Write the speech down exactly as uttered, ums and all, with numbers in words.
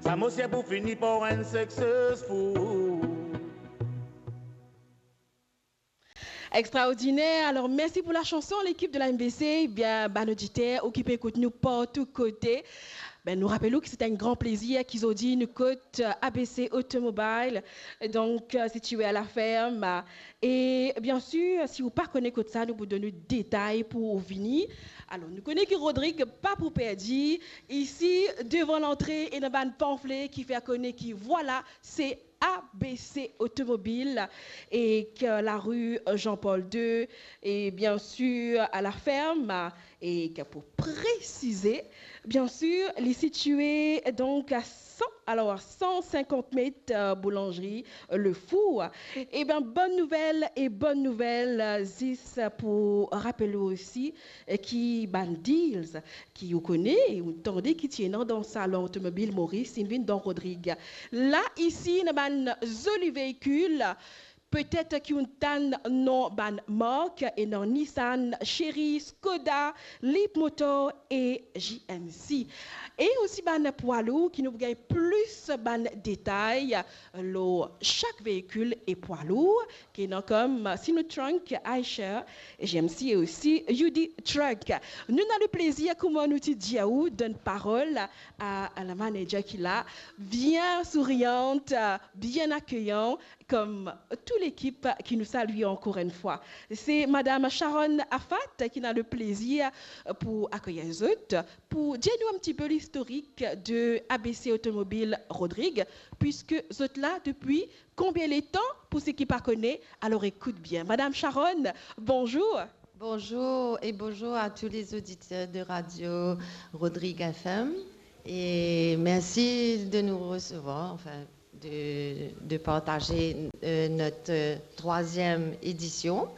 Sa mosie pou fini par enn successful. Extraordiner. Alors, mersi pou la chanson, lekip de la M B C. Bien, bann oditer, ou ki pe ekout nou partou kote, ben, nou rapel ou ki se enn gran plezir ki zordi nou kot, euh, A B C Automobile, donk, euh, sitiwe a La Ferme. E, bien sir, si ou pa kone kot sa, nou pou donn ou detay pou ou vini. Alor, nou kone ki Rodrig pa pou perdi. Isi, devan lantre, ena bann panfle ki fer kone ki, vwala, se A B C Automobile, e ki lari Jean-Paul deux, e bien sir, a La Ferme, e ki pou presize, bien sir, li sitiwe, donk, a san, alor, san sinkant met, euh, boulanzri, euh, Le Four. E bien, bonn nouvel e bonn nouvel, euh, zis pou rapel ou osi, euh, ki bann deals ki ou kone, ou tande ki ti ena dan Salon Otomobil Moris, inn vinn dan Rodrig. La, isi, ena bann zoli veikil, petet ki ou'nn tann non bann mark, ena Nissan, Chery, Skoda, Leapmotor e J M C. E osi bann pwa lour ki nou pou gagn plis bann detay lor sak veikil e pwa lour, ki ena kom Sinotruk, Eicher, J M C e osi U D Truck. Nou ena leplezir, kouma nou ti dir ou, donn parol a, a la manager ki la, bien souriant, bien akeyan, kom tou lekip ki nou salye ankor enn fwa. Se Madam Sharon Afat ki ena leplezir pou akeyir zot, pou dir nou enn tipe listorik de A B C Automobile Rodrig, piske zot la depi konbien letan, pou seki pa kone, alor ekout bien. Madam Sharon, bonzour. Bonjour et bonjour à tous les auditeurs de Radio Rodrig F M. Et merci de nous recevoir, enfin, de, de partager, euh, notre, euh, troisième édition.